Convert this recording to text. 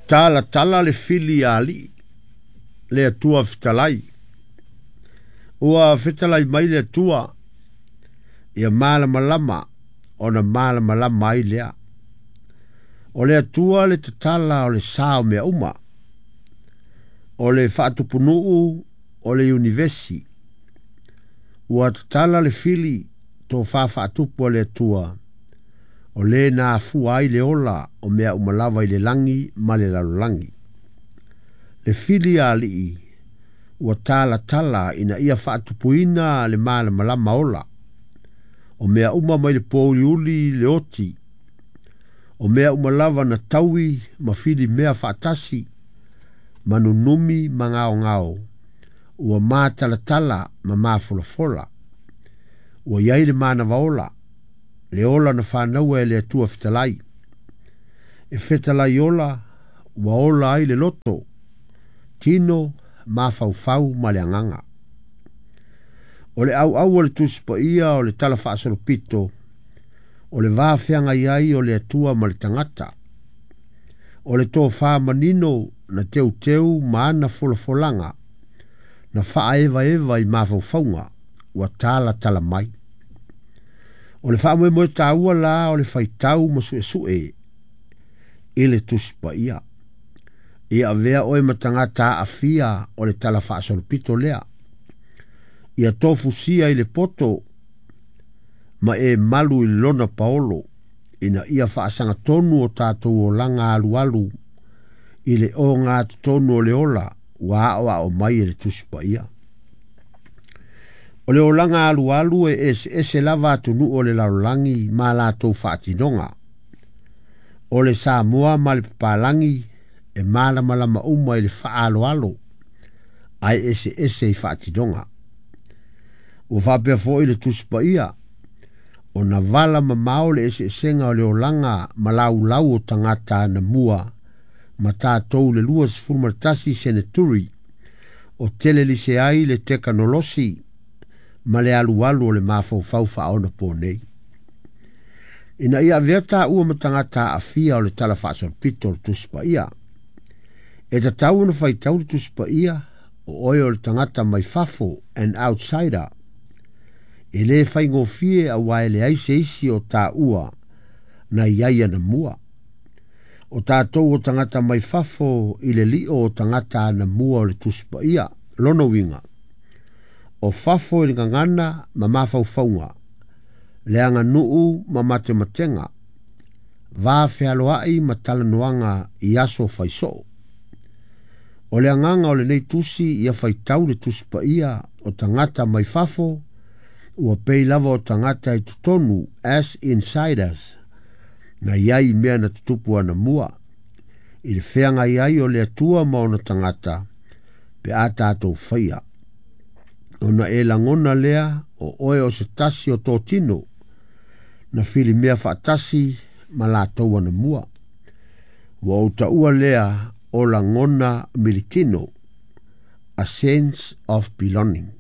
Talatala le fili a alii, le Atua fetalai. Ua fetalai mai le Atua, ia malamalama ona malamalama ai lea. O le Atua le tatala o le sa o mea uma. O le faatupunuu o le iunivesi. Ua tatala le fili tofa faatupu a le Atua, o le na afua ai le ola o mea uma lava i le lagi ma le lalolagi. Le fili a alii ua talatala ina ia faatupuina le malamalama ola. O mea uma mai le pōuliuli le oti. O mea uma lava na taui ma fili mea faatasi, ma nunumi ma gaogao, ua matalatala ma mafolafola. Ua i ai le manava ola, le ola na fanaua e le Atua fetalai. E fetalai ola, ua ola ai le loto, tino, mafaufau ma le agaga. O le auau o le Tusi Paia o le Tala Faasolopito, o le va feagai ai o le Atua ma le tagata. O le tofa manino na teuteu ma ana folafolaga, na faaevaeva i mafaufauga, ua talatala mai. O le faamoemoe taua la o le faitau ma suesue i le Tusi Paia. Ia avea oe ma tagata aafia o le Tala Faasolopito lea. Ia tofusia i le poto ma e malu i lona paolo, ina ia faasagatonu o tatou olaga alualu i le ogatotonu o le ola ua aoao mai e le Tusi Paia. O le olaga alualu e eseese lava atunuu o le lalolagi ma latou faatinoga. O le Samoa ma le papalagi e malamalama uma i le faaaloalo, ae eseese i faatinoga. Ua faapea foi le Tusi Paia, ona vala mamao le eseesega o le olaga ma laulau o tagata anamua ma tatou le 21 seneturi o telelise ai le tekanolosi ma le alualu o le mafaufau faaonapo nei. Ina ia avea taua ma tagata aafia o le Tala Faasolopito o le Tusi Paia. E tatau ona faitau le Tusi Paia o oe o le tagata mai fafo, an outsider. E le faigofie aua e leai se isi o taua na i ai anamua. O tatou o tagata mai fafo i le lio o tagata anamua o le Tusi Paia, lona uiga. O fafo i le gagana ma mafaufauga, le aganuu ma matematega, va fealoai ma talanoaga i aso faisoo. O le agaga o lenei tusi ia faitau le Tusi Paia o tagata mai fafo, ua pei lava o tagata i totonu as insiders, na i ai mea na tutupu anamua, i le feagai ai o le Atua ma ona tagata, pe a tatou faia. Ona e lagona lea o oe o se tasi o totino, na filimea faatasi ma latou anamua. Ua ou taua lea o lagona militino, a sense of belonging.